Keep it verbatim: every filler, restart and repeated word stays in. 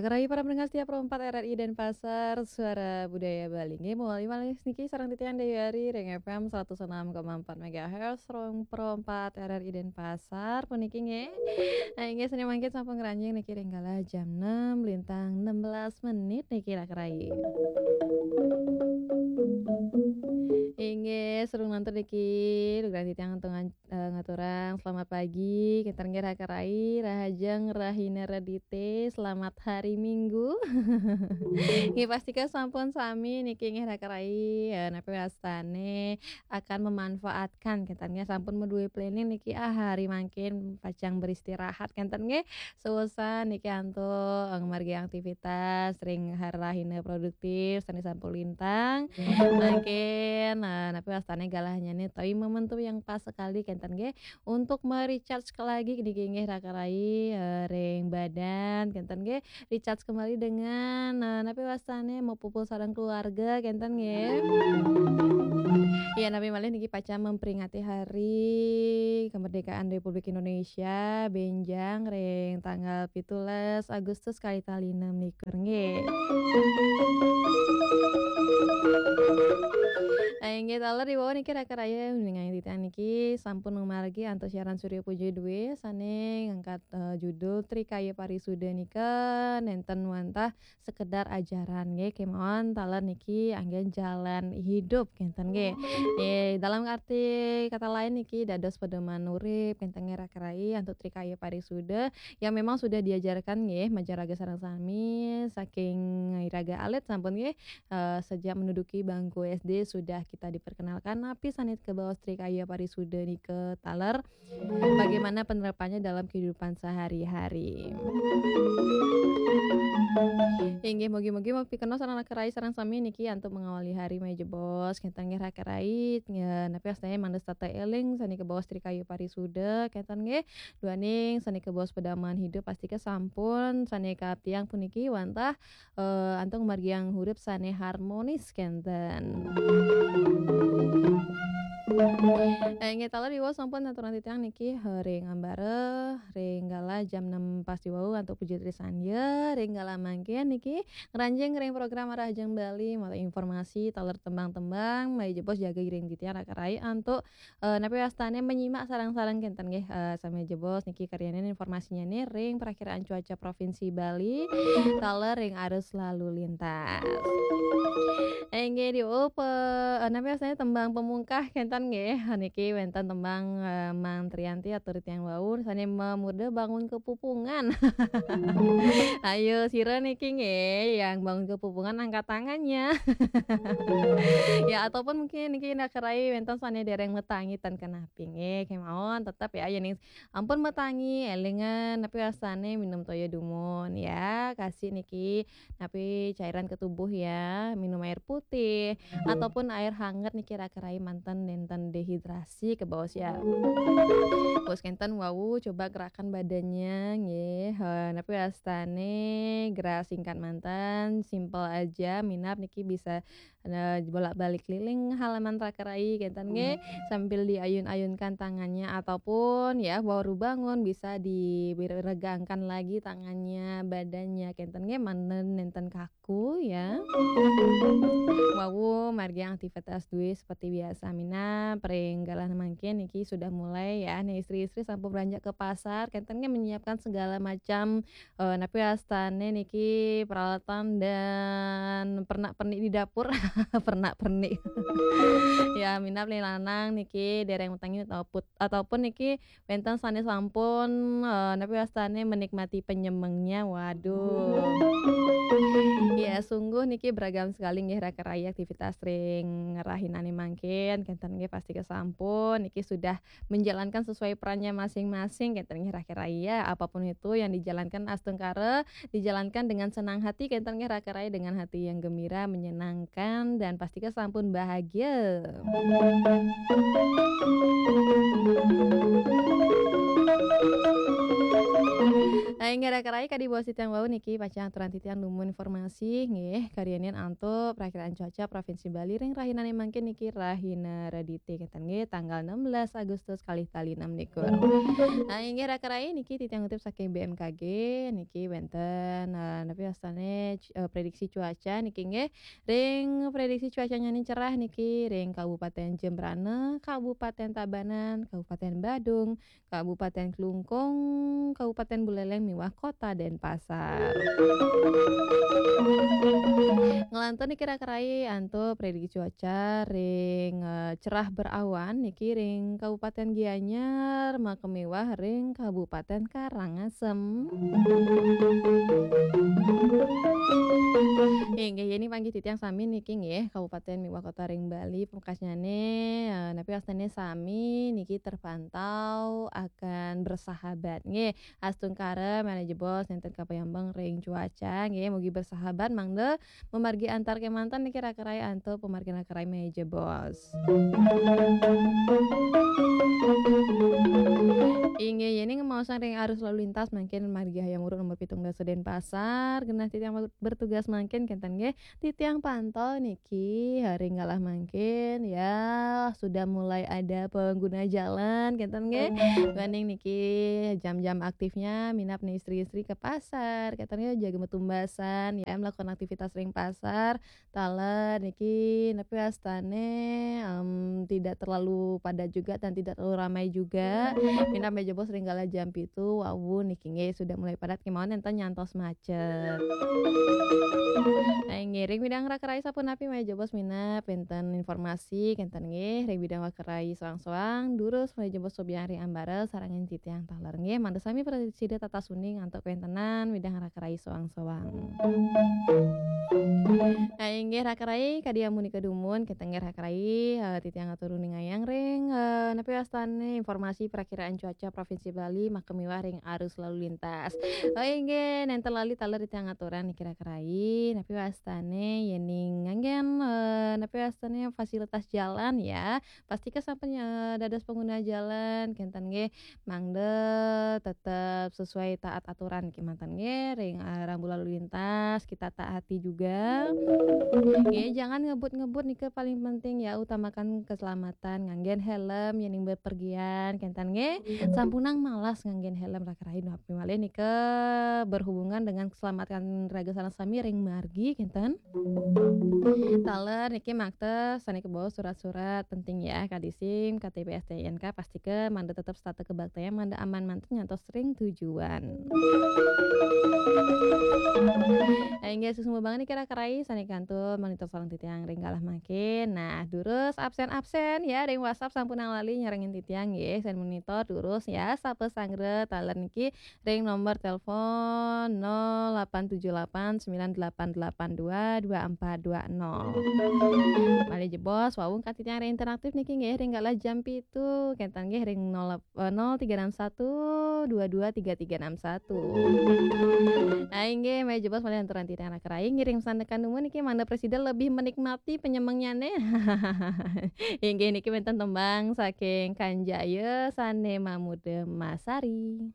Rahayu para pendengar setia Pro empat R R I Denpasar, Suara Budaya Bali. Nggih, mawali malih niki sareng titiang Dewi Ari ring F M seratus enam koma empat megahertz, rong Pro empat R R I Denpasar puniki nggih. Nah, inggih, sané mangkin sampun ngranjing niki ring galah jam enam lintang enam belas menit niki, Raka Rai. Inggih, sareng niki, dugrang titiang antuk ngan-, eh, ngaturang selamat pagi, kénten nggih Raka Rai, rahajeng rahina Redité, selamat hari Minggu. Nggih, pastika sampun sami niki nggih Raka Rai, eh, napi wastané akan memanfaatkan, kénten nggih sampun madué planning niki, ah, hari mangkin pacang beristirahat, kénten nggih. Seusan niki antuk, eh, ngamargi aktivitas ring rahina produktif, sané sampun lintang. Mangkin, eh, napi wastané galahnyané utawi momentum yang pas sekali, kénten nggih, untuk me-recharge lagi niki nggih Raka Rai, eh, ring badan, kénten nggih, recharge kembali dengan, eh, napi wastané mapupul sareng keluarga, kénten nggih. Ya, napi malih niki pacang memperingati Hari Kemerdekaan Republik Indonesia, bénjang ring tanggal pitulas Agustus kalih tali enam likur nggih. Nah, inggih taler ri wau niki Raka Rai, uninganing titiang niki sampun ngamargi antuk siaran Surya Puja dua sané ngangkat, eh, judul Trikaya Parisuda nika nénten wantah sekedar ajaran nggih, kémaon taler niki anggén jalan hidup kénten nggih. Nggih, dalam arti kata lain niki dados pedoman urip kénten nggih Raka Rai antuk Trikaya Parisuda yang memang sudah diajarkan nggih majeng raga sareng sami saking iraga alit sampun nggih, eh, sejak menduduki bangku S D sudah kita diperkenalkan napi sané kabaos Trikaya Parisuda nika taler, bagaimana penerapannya dalam kehidupan sehari-hari. Inggih, mugi-mugi mapikenoh sareng Raka Rai sareng sami niki antuk mengawali hari malih jebos, kénten nggih Raka Rai, ya, napi wastané mangda setata éling sané kabaos Trikaya Parisuda, kénten nggih, duaning sané kabaos pedoman hidup pastika sampun sané kaaptiang puniki wantah, eh, antuk ngamargiang urip sané harmonis kénten. Eh, inggih taler ri wau sampun aturang titiang niki, eh, ring ambara, ring galah jam enam pas ri wau antuk puji trisandya, ring galah mangkin niki ngranjing ring program Rahajeng Bali, malih informasi taler tembang-tembang, malih jebos jaga ring titiang Raka Rai antuk, eh, napi wastané menyimak sareng-sareng kénten nggih, eh, sami jebos niki karyanin informasinyané ring Perakiraan Cuaca Provinsi Bali, taler ring arus lalu lintas. Inggih diup, eh, napi wastané tembang pamungkah kénten nggih. Niki wénten tembang, eh, Mang Trianti atur titiang wau sané mamurda Bangun Kepupungan. Ayo sira niki nggih yang bangun kepupungan angkat tangannya. Ya, ataupun mungkin niki Raka Rai wénten sané déréng matangi ten kenapi nggih, kémaon tetep ya, yéning ampun matangi, élingan napi wastané minum toya dumun ya. Kasih niki napi cairan ke tubuh ya, minum air putih ataupun air hangat niki Raka Rai manten nénten dehidrasi kabaos ya. Terus kénten wau coba gerakan badannya nggih. Eh, napi wastané gerak singkat manten, simple aja, minab niki bisa, eh, bolak-balik keliling halaman Raka Rai kénten nggih, sambil diayun-ayunkan tangannya ataupun ya baru bangun bisa diregangkan lagi tangannya, badannya kénten nggih, manten nénten kaku ya. Wau margi aktivitas dué seperti biasa minab, ring galah mangkin niki sudah mulai ya. Nih istri-istri sampun beranjak ke pasar, kénten nggih menyiapkan segala macam, eh, napi wastané niki peralatan dan pernak-pernik di dapur. Pernak-pernik. Ya, minab ring lanang niki déréng matangi ataupun, ataupun niki wénten sané sampun, eh, napi wastané menikmati penyemengnya. Waduh. Ya, sungguh niki beragam sekali nggih Raka Rai aktivitas ring rahinané mangkin. Kénten nggih pastika sampun niki sudah menjalankan sesuai perannya masing-masing kénten nggih Raka Rai ya. Apapun itu yang dijalankan astungkara dijalankan dengan senang hati, kénten nggih Raka Rai, dengan hati yang gembira, menyenangkan, dan pastika sampun bahagia. Inggih raka rai, kadi bos titiang wau niki pacang aturan titiang dumun informasi nggih, karianin antuk perakiraan cuaca Provinsi Bali ring rahinane mangkin niki, rahina Redite kenten nggih, tanggal enam belas Agustus kalih tali enam likur. Nah, inggih raka rai, niki titiang ngutip saking B M K G, niki wenten, eh, napi wastane, eh, prediksi cuaca niki nggih. Ring prediksi cuacanya ni cerah niki ring Kabupaten Jembrana, Kabupaten Tabanan, Kabupaten Badung, Kabupaten Klungkung, Kabupaten Buleleng miwah Kota Denpasar. Ngelantur niki raka rai antuk prediksi cuaca ring, eh, cerah berawan niki ring Kabupaten Gianyar, maka miwah ring Kabupaten Karangasem. Inggih, yeni panggih titiang sami niki nggih, Kabupaten miwah Kota ring Bali, pamekasnyane, eh, napi wastane sami niki terpantau akan bersahabat nggih. Astungkara malih jebos nenten kapayambeng ring cuaca nggih, mugi bersahabat mangda mamargi antar kemanten niki raka rai antuk pamargin raka rai malih jebos. Inggih, yeni ngemaosang ring arus lalu lintas mangkin margi Hayam Wuruk nomor pitung dasa Denpasar, genah titiang bertugas mangkin kenten nggih, titiang pantau niki, hari galah mangkin ya sudah mulai ada pengguna jalan kenten nggih. Duaning niki jam-jam aktifnya minab nih istri-istri ke pasar kenten nggih, jaga metumbasan ya melakukan aktivitas ring pasar. Taler niki napi wastane, em, tidak terlalu padat juga dan tidak terlalu ramai juga. Minab malih jebos ring galah jam pitu wau niki nggih sudah mulai padat kemawon enten nyantos macet. Nah, inggih ring bidang raka rai sapunapi malih jebos minab wenten informasi kenten nggih ring bidang raka rai soang-soang, durus malih jebos subiang ring ambara sareng titiang taler nggih, mangda sami prasida tatas uning antuk kawentenan bidang raka rai soang-soang. Nah, inggih raka rai, kadi amunika dumun, kenten nggih raka rai, eh, titiang atur uningayang ring, eh, napi wastane informasi perakiraan cuaca Provinsi Bali, maka miwah ring arus lalu lintas. Oh, inggih, nenten lali taler titiang aturang niki raka rai, napi wastane yening nganggen, eh, napi wastane fasilitas jalan ya, pastika sampun, eh, dados pengguna jalan, kenten nggih, mangda tetep sesuai taat aturan kemanten nggih, ring, eh, rambu lalu lintas kita taati juga. Nggih, jangan ngebut-ngebut nika paling penting ya, utamakan keselamatan, nganggen helm yening bepergian, kenten nggih. Sampunang malas nganggen helm raka rai, napi malih nika berhubungan dengan keselamatan raga sareng sami ring margi, kenten. Taler niki makta sane kabawa surat-surat penting ya, kadi SIM, K T P, S T N K, pastika mangda tetep setata kabaktayang, mangda aman manten nyantos ring tujuan. Nah, inggih suksma banget niki raka rai sane kantun monitor sareng titiang ring galah mangkin. Nah, durus absen-absen ya ring WhatsApp, sampunang lali nyarengin titiang nggih, sane monitor durus ya, sapa sanggra taler niki ring nomor telepon nol delapan tujuh delapan sembilan delapan delapan dua dua empat dua nol. Malih jebos, wau kantun titiang ring interaktif niki nggih ring galah jam pitu, kenten nggih ring nol, eh, nol tiga enam satu dua dua tiga tiga enam satu. Nah, inggih, malih jebos malih aturan titiang raka rai ngiring sandekan dumun niki mangda prasida lebih menikmati penyemengnyane. Inggih niki wenten tembang saking Kanjaya sane mamuda Masari.